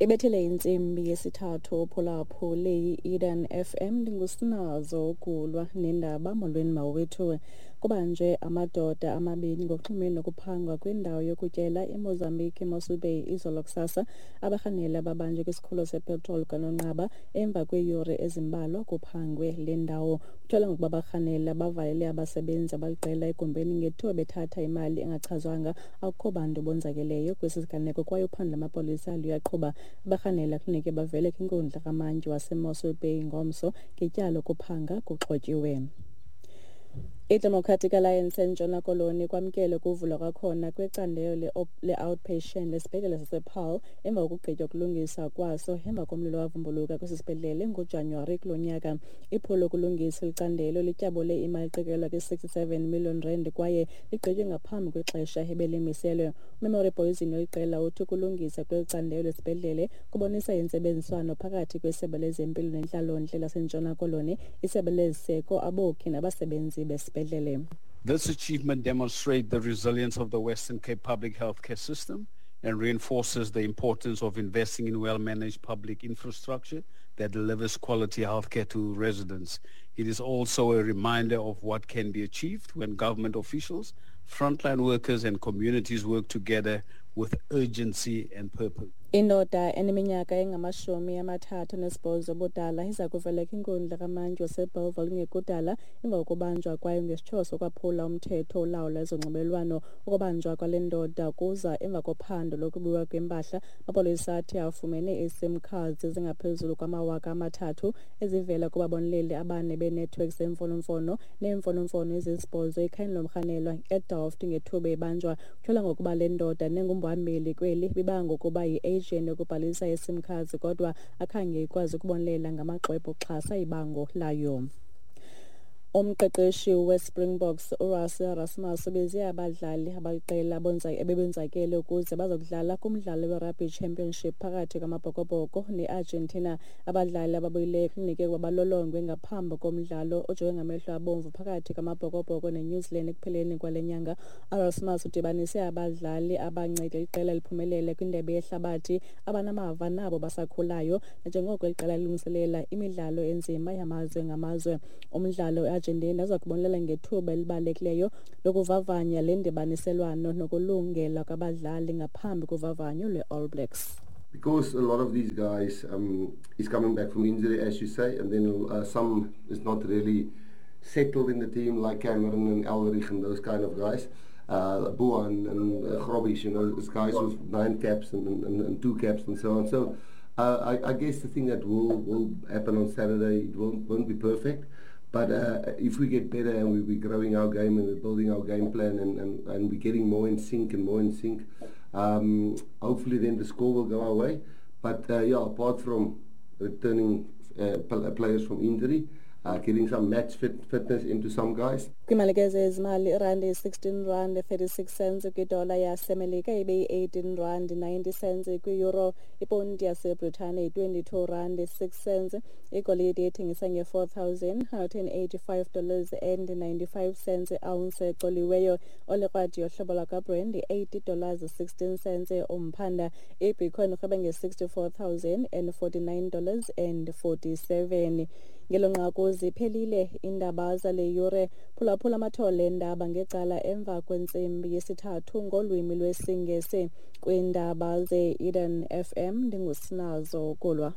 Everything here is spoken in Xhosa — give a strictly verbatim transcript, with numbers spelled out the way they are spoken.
Ibethele intsimbi yesithathu uphulaphule i-Eden F M, ndingusinazo ukulwa nendaba. Molweni mawethu. Kubanjwe amadoda amabini ngokuxhumene nokuphangwa kwindawo yokutyela eMozambique, eMossel Bay, izolo kusasa. Abarhanela babanjwe kwisikhululo sepetroli kwaNonqaba emva kweeyure ezimbalwa kuphangwe le ndawo. Kutyholwa ngokuba abarhanela bavalele abasebenzi abaliqela egumbini ngethuba bethatha imali engachazwanga. Akukho bantu bonzakeleyo kwesi siganeko kwaye uphando lwamapolisa luyaqhuba. Abarhanela kufuneke bavele kwinkundla kamantyi waseMossel Bay ngomso ngetyala lokuphanga kuxhotyiwe. I-Democratic Alliance eNtshona Koloni kwamkele ukuvulwa kwakhona kwecandelo le-outpatient esibhedlele sasePaarl emva kokugqitywa ukulungiswa kwaso emva komlilo owavumbuluka kwesi sibhedlele ngoJanuwari kulo nyaka. Iphulo lokulungisa eli candelo lityabule imali eqikelelwa kwi-sixty-seven million rand kwaye ligqitywe ngaphambi kwexesha ebelimiselwe. UMemory Poison weliqela uthi ukulungisa kweli candelo esibhedlele kubonisa intsebenziswano phakathi kwesebe lezempilo nentlalontle laseNtshona Koloni, isebe leziseko, abokhi nabasebenzi besibhedlele. This achievement demonstrates the resilience of the Western Cape public healthcare system and reinforces the importance of investing in well-managed public infrastructure that delivers quality healthcare to residents. It is also a reminder of what can be achieved when government officials, frontline workers and communities work together with urgency and purpose. Indoda eneminyaka engamashumi amathathu nesibhozo ubudala iza kuvela kwinkundla kamantyi waseBellville kungekudala emva kokubanjwa kwayo ngesityholo sokwaphula umthetho olawula ezonxibelelwano. Ukubanjwa kwale ndoda kuza emva kophando lokubiwa kwempahla. Amapolisa athi afumene ii-SIM cards ezingaphezulu kwamawaka amathathu ezivela kubaboneleli abane beenethiwekhi zemfonomfono neemfonomfono ezisibhozo ekhayeni lomrhanelwa eDelft ngethuba ebanjwa. Kutyholwa ngokuba le ndoda nengumhambeli kweli bibanga ukuba yi-agent yokubhalisa i-SIM cards, kodwa akhange ikwazi ukubonelela ngamaxwebhu okuxhasa ibango layo. Umqeqeshi weSpringboks uRassie Erasmus ubize abadlali abaliqela ebebonzakele ukuze bazokudlala kumdlalo weRugby Championship phakathi kwamaBhokobhoko neArgentina. Abadlali ababuyileyo kufuneke ukuba balolongwe ngaphambi komdlalo ojonge ngamehlo abomvu phakathi kwamaBhokobhoko neNew Zealand ekupheleni kwale nyanga. Erasmus udibanise abadlali abancede iqela liphumelele kwindebe yehlabathi, abanamava nabo basakhulayo, nanjengoko eli qela lilungiselela imidlalo enzima yamazwe ngamazwe. Umdlalo weArgentina uza kubonelela ngethuba elibalulekileyo lokuvavanya le ndibaniselwano nokulungela kwabadlali ngaphambi kovavanyo lwe-All Blacks. Because a lot of these guys um, is coming back from injury, as you say, and then uh, some is not really settled in the team, like Cameron and Elrigh and those kind of guys. Uh, Boan and uh, Grobbies, you know, those guys with nine caps and, and, and two caps and so on. So uh, I, I guess the thing that will, will happen on Saturday, it won't, won't be perfect. But uh, if we get better and we, we're growing our game and we're building our game plan and, and, and we're getting more in sync and more in sync, um, hopefully then the score will go our way. But uh, yeah, apart from returning uh, players from injury, uh, getting some match fit, fitness into some guys. Kwimalike zezimali, irandi yi-sixteen rand thirty-six cents kwidola yaseMelika, ibe yi-eighteen rand ninety cents kwi-euro. Iponti yaseBritane yi-twenty-two rand six cents. Igolide ithengisa nge-four thousand hundred and eighty-five dollars and ninety-five cents ounce ecoliweyo. Olikrwadi yohlobo lwakwaBrent yi-eighty dollars sixteen cents umphanda. Ibitcoin irhweba nge-sixty-four thousand and forty-nine dollars and forty-seven. Ngelo nqaku ziphelile iindaba zale yure. Phulaphula amathole endaba ngecala emva kwentsimbi yesithathu ngolwimi lwesiNgesi. Kwiindaba ze-Eden F M, ndingusinazo Kulwa.